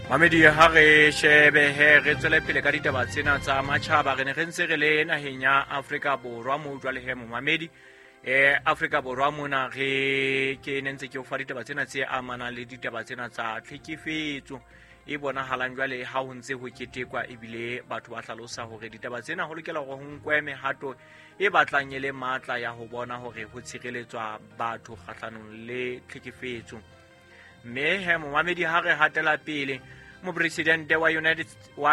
Mamedi, ha re shebe he re tswele pele ka ditaba tsena tsa matjhaba. Re ne re ntse re le naheng ya Afrika Borwa moo jwale he momamedi, Afrika Borwa mona re ke ne ntse ke o fa ditaba tsena tse amanang le ditaba tsena tsa tlhekefetso e bonahalang jwale ha ho ntse ho ketekwa, ebile batho ba hlalosa hore ditaba tsena ho lokela hore ho nkwe mehato e batlang e le matla ya ho bona hore ho tshireletswa batho kgahlanong le tlhekefetso. Mme he momamedi, ha re hatela pele, mopresidente wa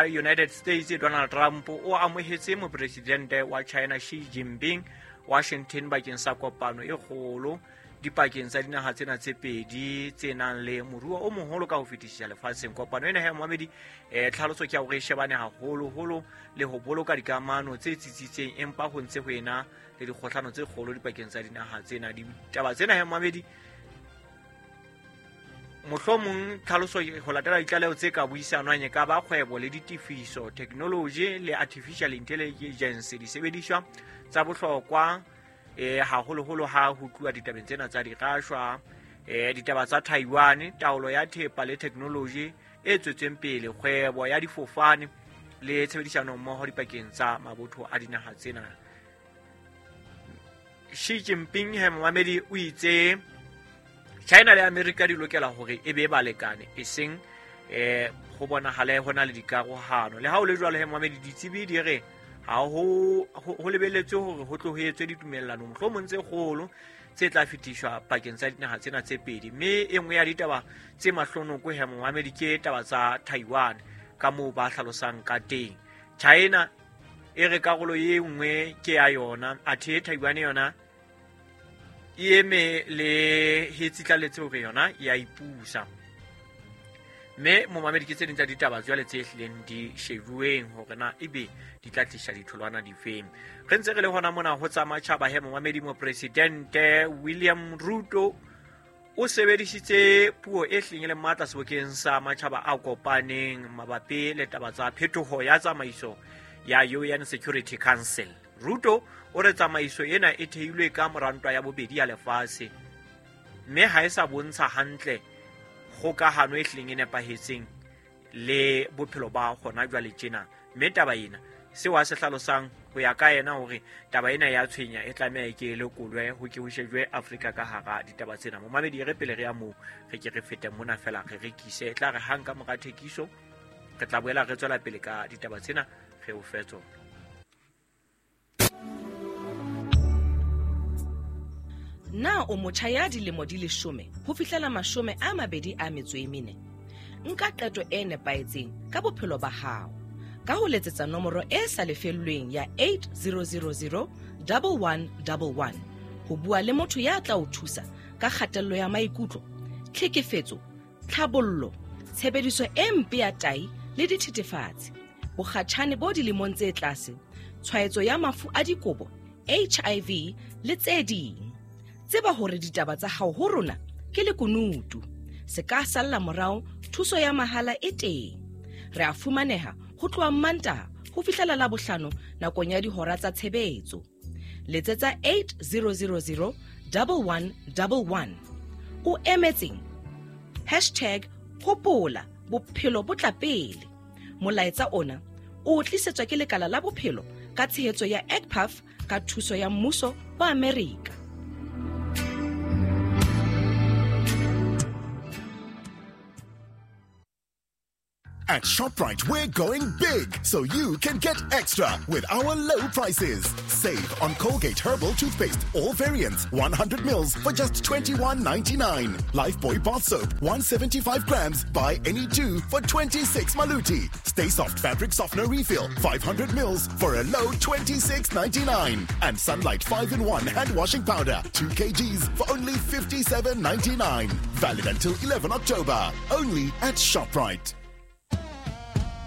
United States Donald Trump o amohetse mopresidente wa China Xi Jinping Washington bakeng sa kopano e kgolo dipakeng tsa dinaha tsena tse pedi tse nang le moruo o moholo ka ho fetisisa lefatsheng. Kopano ena he momamedi, tlhaloso ke ya hore e shebane haholoholo le ho boloka dikamano tse tsitsitseng, empa ho ntse ho ena le dikgohlano tse kgolo dipakeng tsa dinaha tsena. Ditaba tsena he momamedi, mohlomong tlhaloso ho latela ditlaleho tse ka buisanwang e ka ba kgwebo le ditefiso, technology le artificial intelligence, disebediswa tsa bohlokwa haholoholo ha ho tluwa ditabeng tsena tsa dirashwa, ditaba tsa Taiwan, taolo ya thepa le technology e tswetseng pele, kgwebo ya difofane le tshebedisano mmoho dipakeng tsa mabotho a dinaha tsena. Xi Jinping he momamedi o itse China le America di lokela hore e be balekane, eseng ho bonahale ho na le dikarohano. Le ha o le jwalo he momamedi, ditsebi di re ha ho lebelletswe hore ho tlo ho etswe ditumellano mohlomong tse kgolo tse tla fetiswa pakeng tsa dinaha tsena tse pedi. Mme e nngwe ya ditaba tse mahlonoko he momamedi ke taba tsa Taiwan, ka moo ba hlalosang ka teng. China e re karolo e nngwe ke ya yona, athe Taiwan yona e eme le he tsitlaletse hore yona ya ipusa. Mme momamedi, ke tse ding tsa ditaba jwale tse hlileng di shebuweng hore na ebe di tla tlisa ditholwana difeng. Re ntse re le hona mona ho tsa matjhaba he momamedi, mopresidente William Ruto o sebedisitse puo e hlileng e le matla sebokeng sa matjhaba a kopaneng mabapi le taba tsa phetoho ya tsamaiso ya UN Security Council. Ruto o re tsamaiso ena e theilwe ka mora ntwa ya bobedi ya lefatshe, mme ha e sa bontsha hantle kgokahano e hlileng e nepahetseng le bophelo ba hona jwale tjena. Mme taba ena, seo a se hlalosang ho ya ka yena, hore taba ena ya tshwenya, e tlameha e ke e lekolwe, ho ke ho shejwe Afrika ka hara ditaba tsena. Momamedi, e re pele re ya moo, re ke re fete mona fela re rekise, e tla re hang ka mora thekiso re tla boela re tswela pele ka ditaba tsena, re o fe tsona. Na o motjha ya dilemo di 10 ho fihlela 24? Nka qeto e nepahetseng ka bophelo ba hao ka ho letsetsa nomoro e sa lefellweng ya 8000 1111 ho bua le motho ya tla o thusa ka kgatello ya maikutlo, tlhekefetso, tlhabollo, tshebediso e mpe ya tai le dithethefatsi, bokgatjhane bo dilemong tse tlase, tshwaetso ya mafu a dikobo, HIV le tse ding. Tseba hore ditaba tsa hao ho rona ke lekunutu, se ka salla morao. Thuso ya mahala e teng. Re a fumaneha ho tloha Mmantaha ho fihlela Labohlano nakong ya dihora tsa tshebetso. Letsetsa 8000 1111. O emetseng? #HopolaBopheloBoTlaPele. Molaetsa ona o tlisetswa ke lekala la bophelo ka tshehetso ya EGPAF ka thuso ya mmuso wa Amerika. At ShopRite, we're going big so you can get extra with our low prices. Save on Colgate Herbal Toothpaste, all variants, 100 mils for just 21.99. Lifebuoy bath soap, 175 grams, buy any two for 26 maluti. Stay Soft fabric softener refill, 500 mils for a low 26.99. And Sunlight 5-in-1 hand washing powder, 2 kgs for only 57.99. Valid until 11 October. Only at ShopRite.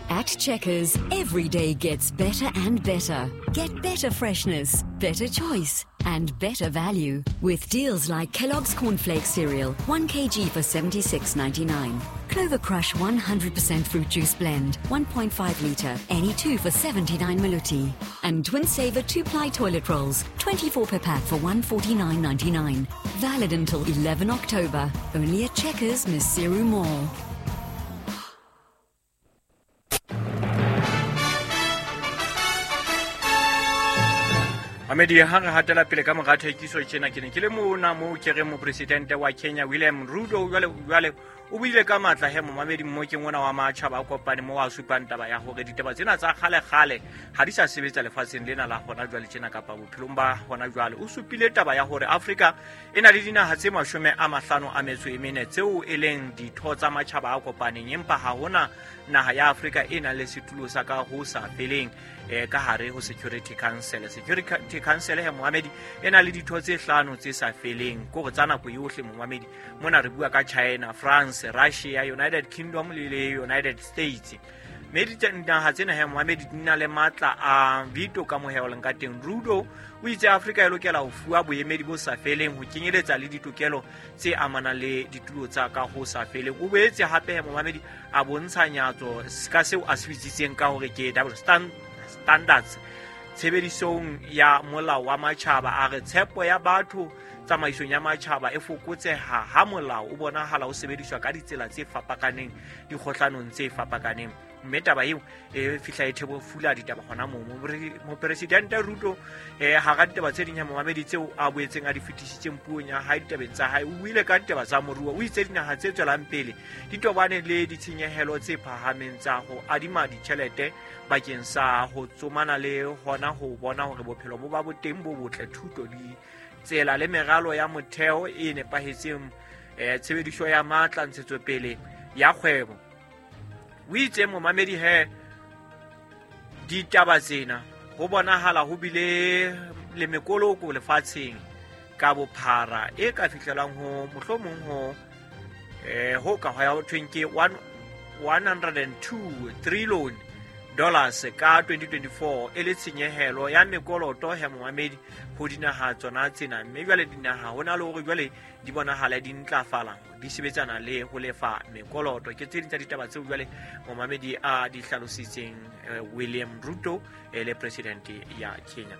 At Checkers, every day gets better and better. Get better freshness, better choice, and better value. With deals like Kellogg's Cornflakes cereal, 1 kg for 76.99. Clover Crush 100% fruit juice blend, 1.5 litre, any two for 79 maluti. And Twin Saver 2-ply toilet rolls, 24 per pack for 149.99. Valid until 11 October. Only at Checkers, Maseru Mall. Mamedi, ha re hatela pele ka mora thekiso tjena, ke ne ke le mona moo ke reng mopresidente wa Kenya William Ruto jwale o buile ka matla he momamedi mmokeng ona wa matjhaba a kopane mo a supang taba ya hore ditaba tsena tsa kgale-kgale ha di sa sebetsa lefatsheng lena la hona jwale tjena kapa bophelong ba hona jwale. O supile taba ya hore Afrika e na le dinaha tse 54 tseo e leng ditho tsa matjhaba a kopaneng, empa ha hona naha ya Afrika e nang le setulo sa ka ho sa feleng ka hare ho Security Council. Security Council he momamedi e na le ditho tse 5 tse sa feleng, kore tsa nako yohle momamedi. Mona re bua ka China, France, Russia, United Kingdom le United States. Mme dinaha tsena he momamedi di na le matla a veto ka moheoleng ka teng. Ruto o itse Afrika e lokela ho fuwa boemedi bo sa feleng ho kenyeletsa le ditokelo tse amanang le ditulo tsa ka ho sa feleng. O boetse hape he momamedi a bontsha nyatso ka seo a se bitsitseng ka hore ke double standards tshebedisong ya molao wa matjhaba. A re tshepo ya batho tsamaisong ya matjhaba e fokotseha ha molao o bonahala o sebediswa ka ditsela tse fapakaneng dikgohlanong tse fapakaneng. Mme taba eo e fihla e thebofula ditaba hona moo. Mopresidente Ruto hara ditaba tse ding ya momamedi tseo a boetseng a di fetisitseng puong ya hae ditabeng tsa hae, o buile ka ditaba tsa moruo. O itse dinaha tse tswelang pele di tobane le ditshenyehelo tse phahameng tsa ho adima ditjhelete bakeng sa ho tsomana le hona ho bona hore bophelo bo ba boteng bo botle, thuto, ditsela le meralo ya motheo e nepahetseng, tshebediso ya matla, ntshetsopele ya kgwebo. O itse momamedi he ditaba tsena ho bonahala ho bile le mekoloko lefatsheng ka bophara e ka fihlelang ho mohlomong ho ho ka ho thweng ke $102 trillion ka 2024 e le tshenyehelo ya mekoloto he momamedi ho dinaha tsona tsena. Mme jwale dinaha ho na le hore jwale di bonahala di ntlafala di sebetsana le ho lefa mekoloto. Ke tse ding tsa ditaba tseo jwale momamedi a di hlalositseng William Ruto e le president ya Kenya.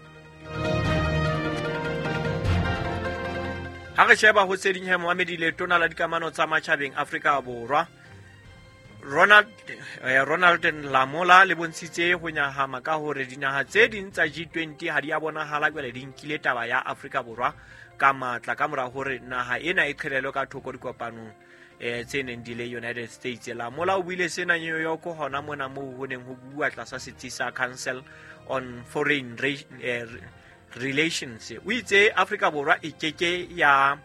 Ha re sheba ho tse ding he momamedi, letona la dikamano tsa matjhabeng Afrika Borwa Ronald Lamola le bontshitse ho nyahama ka hore dinaha tse ding tsa G20 ha di a bonahala jwale di nkile taba ya Afrika Borwa ka matla ka mora hore naha ena e qhelelwe ka thoko dikopanong tse neng di le United States. Lamola o buile sena New York hona mona moo ho neng ho bua tlasa setsi sa Council on Foreign Relations. O itse Afrika Borwa e keke ya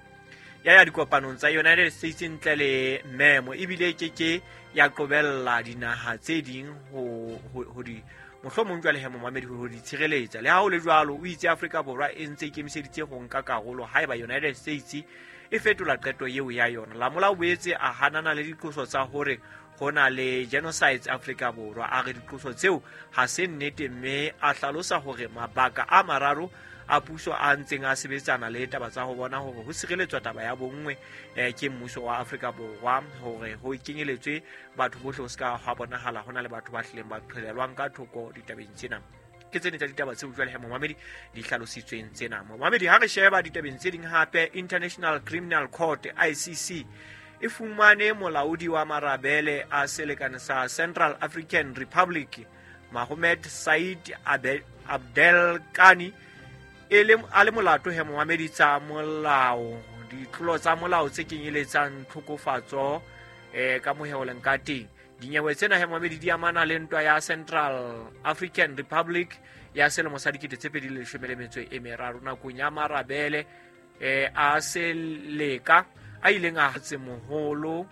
dikopanong tsa United States ntle le memo, ebile e keke ya qobella dinaha tse ding ho di mohlomong jwale he momamedi ho di tshireletsa. Le ha ho le jwalo, o itse Afrika Borwa e ntse ikemiseditse ho nka karolo haeba United States e fetola qeto eo ya yona. Lamola o boetse a hanana le diqoso tsa hore ho na le genocides Afrika Borwa. A re diqoso tseo ha se nnete, mme a hlalosa hore mabaka a mararo a puso a ntseng a sebetsana le taba tsa ho bona hore ho sireletswa taba ya bonngwe ke mmuso wa Afrika Borwa, hore ho kenyeletswe batho bohle ho ska ha bonahala hona le batho ba hlileng ba qhelelwang ka thoko ditabeng tsena. Ke tsene tsa ditaba tseo jwale he momamedi di hlalositsweng tsena. Momamedi, ha re sheba ditabeng tse ding hape, International Criminal Court ICC e fumane molaodi wa marabele a selekane sa Central African Republic Mohamed Said Abdel Kani e le a le molato he momamedi tsa molao, ditlolo tsa molao tse kenyeletsang tlhokofatso ka moheoleng ka teng. Dinyewe tsena he momamedi di amana le ntwa ya Central African Republic ya selemo sa 2013 nakong ya marabele a seleka a ileng a tsemoholo